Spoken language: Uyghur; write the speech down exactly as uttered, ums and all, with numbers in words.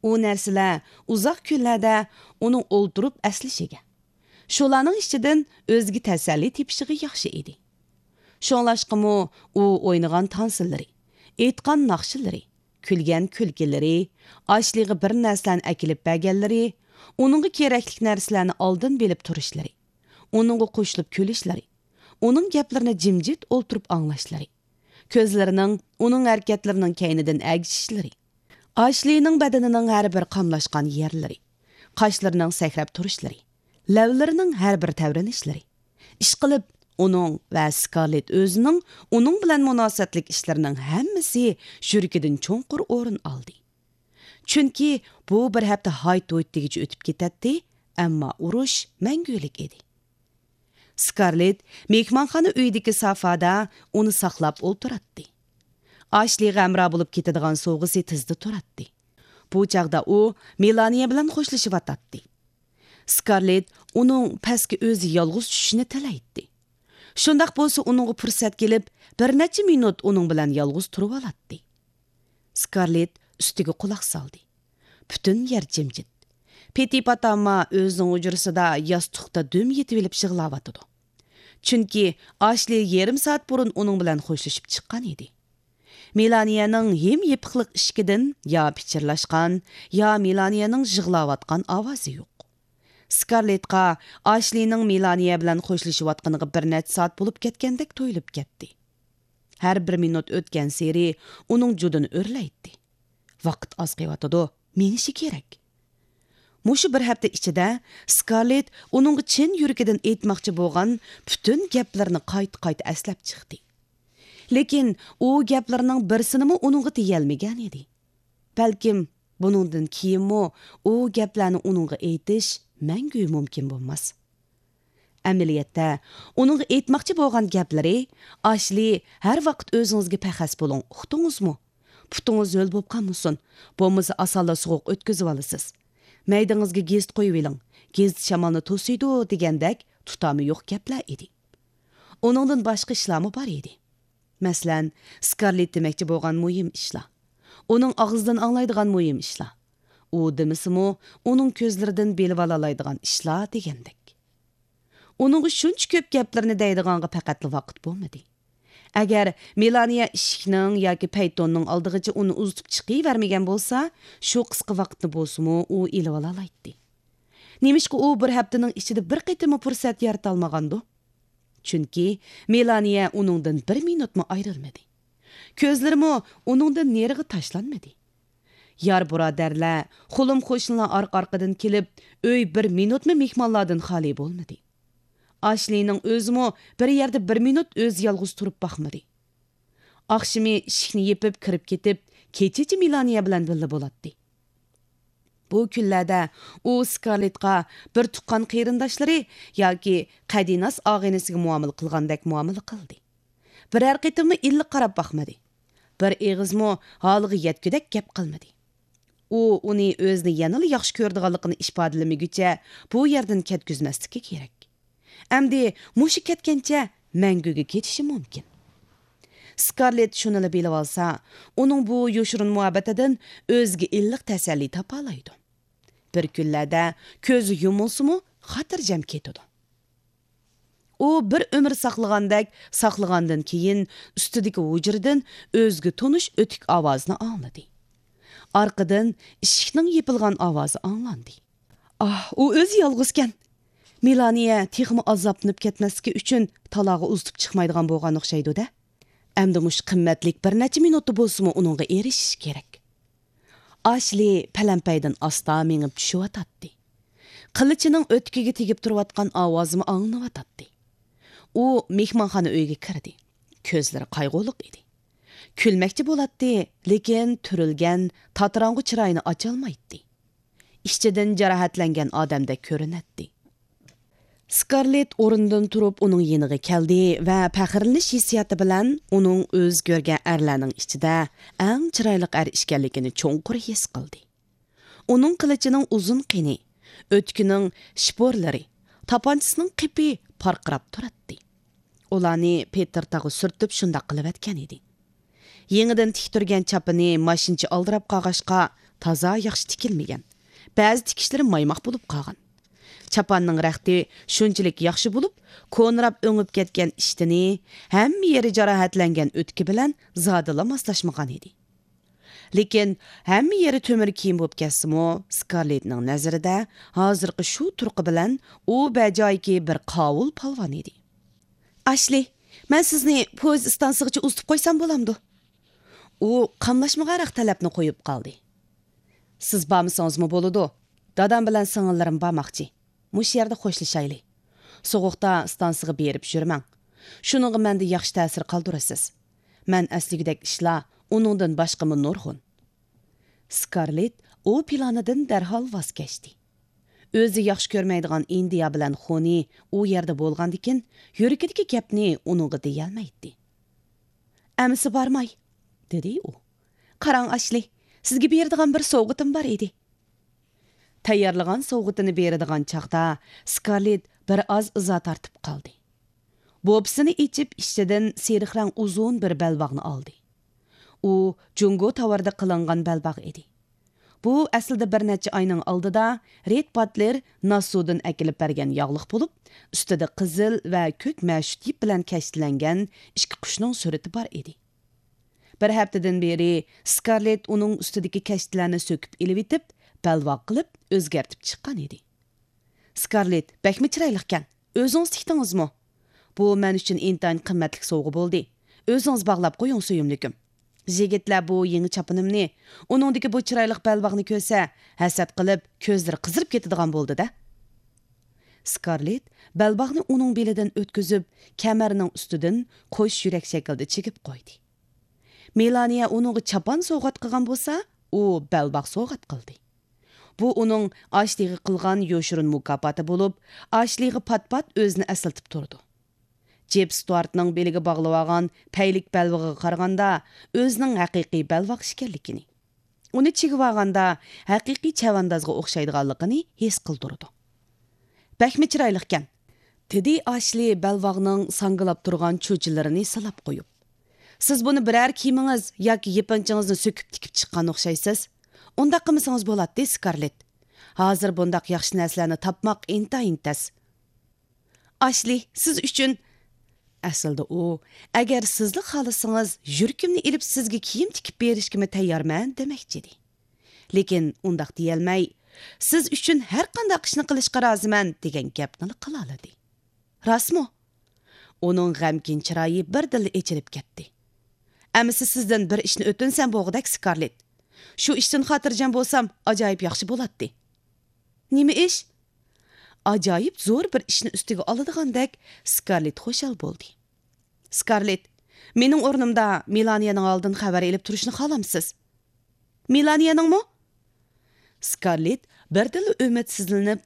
ئۇ نەرسىلەر ئۇزاق كۈنلەردە ئۇنىڭ ئولتۇرۇپ ئەسلىشىگە، شۇلارنىڭ ئىچىدىن ئۆزىگە تەسەللى تېپىشىغا ياخشى ئىدى. شۇڭلاشقىمۇ ئۇ ئوينىغان تانسىلىرى، ئېيتقان ناخشىلىرى، كۈلگەن كۈلكىلىرى، ئاشلىغا بىر نەرسىلەرنى ئەكېلىپ بەرگەنلىرى، ئۇنىڭغا كېرەكلىك نەرسىلەرنى ئالدىن بىلىپ تۇرۇشلىرى، ئۇنىڭغا قوشۇلۇپ كۈلۈشلىرى، ئۇنىڭ گەپلىرىنى جىمجىت ئولتۇرۇپ ئاڭلاشلىرى، كۆزلىرىنىڭ ئۇنىڭ ھەرىكەتلىرىنىڭ كەينىدىن ئەگىشىشلىرى، ئاشلىنىڭ بەدىنىنىڭ ھەر بىر قاملاشقان يەرلىرى، قاشلىرىنىڭ سەكرەپ تۇرۇشلىرى، لەۋلىرىنىڭ ھەر بىر تەۋرىنىشلىرى، ئىشقىلىپ، ئۇنىڭ ۋە سكارلېت ئۆزىنىڭ ئۇنىڭ بىلەن مۇناسىۋەتلىك ئىشلىرىنىڭ ھەممىسى يۈرىكىدىن چوڭقۇر ئورۇن ئالدى. چۈنكى بۇ بىر ھەپتە ھايت-ھۇيت دېگۈچە ئۆتۈپ كېتەتتى، ئەمما ئۇرۇش مەڭگۈلۈك ئىدى. سكارلېت مېھمانخانا ئۆيىدىكى سافادا ئۇنى ساقلاپ ئولتۇراتتى. ئاشلىغا ھەمراھ بولۇپ كېتىدىغان سوۋغىسى تىزدا تۇراتتى. بۇ چاغدا ئۇ مېلانىيە بىلەن خوشلىشىۋاتاتتى. سكارلېت ئۇنىڭ پەسكە ئۆزى يالغۇز چۈشۈشىنى تىلەيتتى. شۇنداق بولسا ئۇنىڭغا پۇرسەت كېلىپ، بىر نەچچە مىنۇت ئۇنىڭ بىلەن يالغۇز تۇرۇۋالاتتى. سكارلېت ئۈستىگە قۇلاق سالدى. پۈتۈن يەر جىمجىت. پېتى پاتاما ئۆزىنىڭ ھۇجرىسىدا ياستۇقتا دۈم يېتىۋېلىپ يىغلاۋاتىدۇ. چۈنكى ئاشلى يېرىم سائەت بۇرۇن ئۇنىڭ بىلەن خوشلىشىپ چىققان ئىدى. مېلانىيەنىڭ ھىم يېپىقلىق ئىشىكىدىن يا پىچىرلاشقان، يا مېلانىيەنىڭ يىغلاۋاتقان ئاۋازى يوق. سكارلېتقا ئاشلىنىڭ مېلانىيە بىلەن خوشلىشىۋاتقىنىغا بىر نەچچە سائەت بولۇپ كەتكەندەك تۇيۇلۇپ كەتتى. ھەر بىر مىنۇت ئۆتكەنسېرى ئۇنىڭ جۇدۇنى ئۆرلەيتتى. ۋاقىت ئاز قېلىۋاتىدۇ، مېڭىشى كېرەك. مۇشۇ بىر ھەپتە ئىچىدە سكارلېت ئۇنىڭغا چىن يۈرىكىدىن ئېيتماقچى بولغان پۈتۈن گەپلىرىنى قايتا-قايتا ئەسلەپ چىقتى. لېكىن ئۇ گەپلىرىنىڭ بىرسىنىمۇ ئۇنىڭغا دېيەلمىگەن ئىدى. بەلكىم بۇنىڭدىن كېيىنمۇ ئۇ گەپلەرنى ئۇنىڭغا ئېيتىش مەڭگۈ مۇمكىن بولماس. ئەمەلىيەتتە، ئۇنىڭغا ئېيتماقچى بولغان گەپلىرى، ئاشلى ھەر ۋاقىت ئۆزىڭىزگە پەخەس بولۇڭ، ئۇقتىڭىزمۇ؟ پۇتىڭىز ھۆل بولۇپ قالمىسۇن، بولمىسا ئاسانلا سوغۇق ئۆتكۈزۈۋالىسىز. مەيدىڭىزگە گېزىت قويۇۋېلىڭ، گېزىت شامالنى توسۇيدۇ دېگەندەك تۇتامى يوق گەپلەر ئىدى. ئۇنىڭدىن باشقا ئىشلارمۇ بار ئىدى. مەسىلەن، سكارلېت دېمەكچى بولغان مۇھىم ئىشلار، ئۇنىڭ ئاغزىدىن ئاڭلايدىغان مۇھىم ئىشلار، ئۇ دېمىسىمۇ، ئۇنىڭ كۆزلىرىدىن بىلىۋالالايدىغان ئىشلار دېگەندەك. ئۇنىڭغا شۇنچە كۆپ گەپلىرىنى دەيدىغانغا پەقەتلا ۋاقىت بولمىدى. ئەگەر مېلانىيە ئىشىكنىڭ ياكى پەيتوننىڭ ئالدىغىچە ئۇنى ئۇزىتىپ چىقىۋەرمىگەن بولسا، شۇ قىسقا ۋاقىتنى بولسىمۇ ئۇ ئېلىۋالالايتتى. نېمىشقا ئۇ بىر ھەپتىنىڭ ئىچىدە بىر قېتىممۇ پۇرسەت يارىتالمىغاندۇ؟ چۈنكى مېلانىيە ئۇنىڭدىن بىر مىنۇتمۇ ئايرىلمىدى. كۆزلىرىمۇ ئۇنىڭدىن نېرىغا تاشلانمىدى. يار بۇرادەرلەر، خۇلۇم قوشنىلار ئارقا-ئارقىدىن كېلىپ، ئۆي بىر مىنۇتمۇ مېھمانلاردىن خالىي بولمىدى. ئاشلىنىڭ ئۆزىمۇ بىر يەردە بىر مىنۇت ئۆزى يالغۇز تۇرۇپ باقمىدى. ئاخشىمى ئىشىكنى يېپىپ كىرىپ كېتىپ، كېچىچە مېلانىيە بىلەن بىللە بولاتتى. بۇ كۈنلەردە ئۇ سكارلېتقا بىر تۇغقان قېرىنداشلىرى ياكى قەدىناس ئاغىنىسىگە مۇئامىلە قىلغاندەك مۇئامىلە قىلدى. بىرەر قېتىممۇ ئىللىق قاراپ باقمىدى. بىر ئېغىزمۇ ھالىغا يەتكۈدەك گەپ قىلمىدى. ئۇ ئۇنى ئۆزىنى يەنىلا ياخشى كۆرىدىغانلىقىنى ئىپادىلىمىگۈچە بۇ يەردىن كەتكۈزمەسلىكى كېرەك. ئەمدى مۇشۇ كەتكەنچە مەڭگۈگە كېتىشى مۇمكىن. سكارلېت شۇنىلا بىلىۋالسا، ئۇنىڭ بۇ يوشۇرۇن مۇھەببىتىدىن ئۆزىگە ئىللىق تەسەللى تاپالايدۇ. بىر كۈنلەردە كۆزى يۇمۇلسىمۇ، خاتىرجەم كېتىدۇ. ئۇ بىر ئۆمۈر ساقلىغاندەك ساقلىغاندىن كېيىن، ئۈستىدىكى ھۇجرىدىن ئۆزىگە تونۇش ئۆتۈك ئاۋازنى ئاڭلىدى. ئارقىدىن ئىشىكنىڭ يېپىلغان ئاۋازى ئاڭلاندى. ئاھ، ئۇ ئۆزى يالغۇزكەن. مېلانىيە تېخىمۇ ئازابلىنىپ كەتمەسلىكى ئۈچۈن تالاغا ئۇزىتىپ چىقمايدىغان بولغان ئوخشايدۇ-دە. ئەمدى مۇشۇ قىممەتلىك بىر نەچچە مىنۇتتا بولسىمۇ ئۇنىڭغا ئېرىشىش كېرەك. ئاشلى پەلەمپەيدىن ئاستا مېڭىپ چۈشۈۋاتاتتى. قىلىچىنىڭ ئۆتۈكىگە تېگىپ تۇرۇۋاتقان ئاۋازىمۇ ئاڭلىنىۋاتاتتى. ئۇ مېھمانخانا ئۆيگە كىردى. كۆزلىرى قايغۇلۇق ئىدى. كۈلمەكچى بولاتتى، لېكىن تۈرۈلگەن، تاتىراڭغۇ چىرايىنى ئاچالمايتتى. ئىچىدىن جاراھەتلەنگەن ئادەمدەك كۆرۈنەتتى. سكارلېت ئورنىدىن تۇرۇپ ئۇنىڭ يېنىغا كەلدى ۋە پەخىرلىنىش ھېسسىياتى بىلەن ئۇنىڭ ئۆزى كۆرگەن ئەرلەرنىڭ ئىچىدە ئەڭ چىرايلىق ئەر ئىكەنلىكىنى چوڭقۇر ھېس قىلدى. ئۇنىڭ قىلىچىنىڭ ئۇزۇن قېنى، ئۆتۈكىنىڭ شىپورلىرى، تاپانچىسىنىڭ قېپى پارقىراپ تۇراتتى. ئۇلارنى پېتىر تاغا سۈرتۈپ شۇنداق قىلىۋەتكەن ئىدى. يېڭىدىن تىكتۈرگەن چاپىنى ماشىنىچە ئالدىراپ قالغاچقا، تازا ياخشى تىكىلمىگەن. بەزى تىكىشلىرى مايماق بولۇپ قالغان. چاپاننىڭ رەختى شۇنچىلىك ياخشى بولۇپ، كونىراپ ئۆڭۈپ كەتكەن ئىشتىنى، ھەممە يېرى جاراھەتلەنگەن ئۆتۈكى بىلەن زادىلا ماسلاشمىغان ئىدى. لېكىن ھەممە يېرى تۆمۈر كىيىم بولۇپ كەتسىمۇ، سكارلېتنىڭ نەزىرىدە ھازىرقى شۇ تۇرقى بىلەن ئۇ بەجايىكى بىر قاۋۇل پالۋان ئىدى. ئاشلى، مەن سىزنى پويىز ئىستانسىغىچە ئۇزىتىپ قويسام بولامدۇ؟ ئۇ قاملاشمىغانراق تەلەپنى قويۇپ قالدى. سىز بارمىسىڭىزمۇ بولىدۇ. دادام بىلەن سىڭىللىرىم بارماقچى. مۇشۇ يەردە خوشلىشايلى. سوغۇقتا ئىستانسىغا بېرىپ يۈرمەڭ. شۇنىڭغا مەندە ياخشى تەسىر قالدۇرىسىز. مەن ئەسلىگۈدەك ئىشلار ئۇنىڭدىن باشقىمۇ نۇرغۇن. سكارلېت ئۇ پىلانىدىن دەرھال ۋاز كەچتى. ئۆزى ياخشى كۆرمەيدىغان ئىندىيا بىلەن خونى ئۇ يەردە بولغاندىكىن، يۈرىكىدىكى گەپنى ئۇنىڭغا دېيەلمەيتتى. ئەمىسە بارماي، دېدى ئۇ. قاراڭ ئاشلى، سىزگە بېرىدىغان بىر سوۋغىتىم بار ئىدى. تەييارلىغان سوۋغىتىنى بېرىدىغان چاغدا سكارلېت بىر ئاز ئىزا تارتىپ قالدى. بوپىسىنى ئېچىپ، ئىچىدىن سېرىق رەڭ ئۇزۇن بىر بەلباغنى ئالدى. ئۇ جۇڭگو تاۋاردا قىلىنغان بەلباغ ئىدى. بۇ ئەسلىدە بىر نەچچە ئاينىڭ ئالدىدا رېد باتلېر ناسسۇدىن ئەكېلىپ بەرگەن ياغلىق بولۇپ، ئۈستىدە قىزىل ۋە كۆك مەشۇت يىپ بىلەن كەشتىلەنگەن ئىككى قۇشنىڭ سۈرىتى بار ئىدى. بىر ھەپتىدىن بېرى سكارلېت ئۇنىڭ ئۈستىدىكى كەشتىلەرنى سۆكۈپ ئېلىۋېتىپ، بەلباغ قىلىپ ئۆزگەرتىپ چىققان ئىدى. سكارلېت، بەكمۇ چىرايلىقكەن. ئۆزىڭىز تىكتىڭىزمۇ؟ بۇ مەن ئۈچۈن ئىنتايىن قىممەتلىك سوۋغا بولدى. ئۆزىڭىز باغلاپ قويۇڭ، سۆيۈملۈكۈم. يىگىتلەر بۇ يېڭى چاپىنىمنى، ئۇنىڭدىكى بۇ چىرايلىق بەلباغنى كۆرسە، ھەسەت قىلىپ، كۆزلىرى قىزىرىپ كېتىدىغان بولدى-دە. سكارلېت بەلباغنى ئۇنىڭ بېلىدىن ئۆتكۈزۈپ، كەمەرنىڭ ئۈستىدىن قوش يۈرەك شەكلىدە چىگىپ قويدى. مېلانىيە ئۇنىڭغا چاپان سوۋغات قىلغان بولسا، ئۇ بەلباغ سوۋغات قىلدى. بۇ ئۇنىڭ ئاشلىغا قىلغان يوشۇرۇن مۇكاپاتى بولۇپ، ئاشلىغا پات-پات ئۆزىنى ئەسلىتىپ تۇرىدۇ. جېپ ستۇئارتنىڭ بېلىگە باغلىۋالغان پەيلىك بەلبېغىغا قارىغاندا، ئۆزىنىڭ ھەقىقىي بەلباغ ئىكەنلىكىنى، ئۇنى چىگىۋالغاندا ھەقىقىي چەۋەندازغا ئوخشايدىغانلىقىنى ھېس قىلدۇرىدۇ. بەكمۇ چىرايلىقكەن، دېدى ئاشلى بەلباغنىڭ ساڭگىلاپ تۇرغان چۇچىلىرىنى سىلاپ قويۇپ. سىز بۇنى بىرەر كىيىمىڭىز ياكى يېپىنچىڭىزنى سۆكۈپ تىكىپ چىققان ئوخشايسىز. ئۇنداق قىلمىسىڭىز بولاتتى، سكارلېت. ھازىر بۇنداق ياخشى نەرسىلەرنى تاپماق ئىنتايىن تەس. ئاشلى، سىز ئۈچۈن. ئەسلىدە ئۇ، ئەگەر سىزلا خالىسىڭىز، يۈرىكىمنى ئېلىپ سىزگە كىيىم تىكىپ بېرىشكىمۇ تەييارمەن دېمەكچىدى. لېكىن ئۇنداق دېيەلمەي، سىز ئۈچۈن ھەر قانداق ئىشنى قىلىشقا رازىمەن دېگەن گەپنىلا قىلالىدى. راستمۇ؟ ئۇنىڭ غەمكىن چىرايى بىردىنلا ئېچىلىپ كەتتى. ئەمىسە سىزدىن بىر ئىشنى ئۆتۈنسەم بولغۇدەك، سكارلېت. شۇ ئىشتىن خاتىرجەم بولسام، ئاجايىپ ياخشى بولاتتى. نېمە ئىش؟ ئاجايىپ زور بىر ئىشنى ئۈستىگە ئالىدىغاندەك سكارلېت خۇشال بولدى. سكارلېت، مېنىڭ ئورنۇمدا مېلانىيەنىڭ ھالىدىن خەۋەر ئېلىپ تۇرۇشنى خالامسىز؟ مېلانىيەنىڭمۇ؟ سكارلېت بىردىنلا ئۈمىدسىزلىنىپ،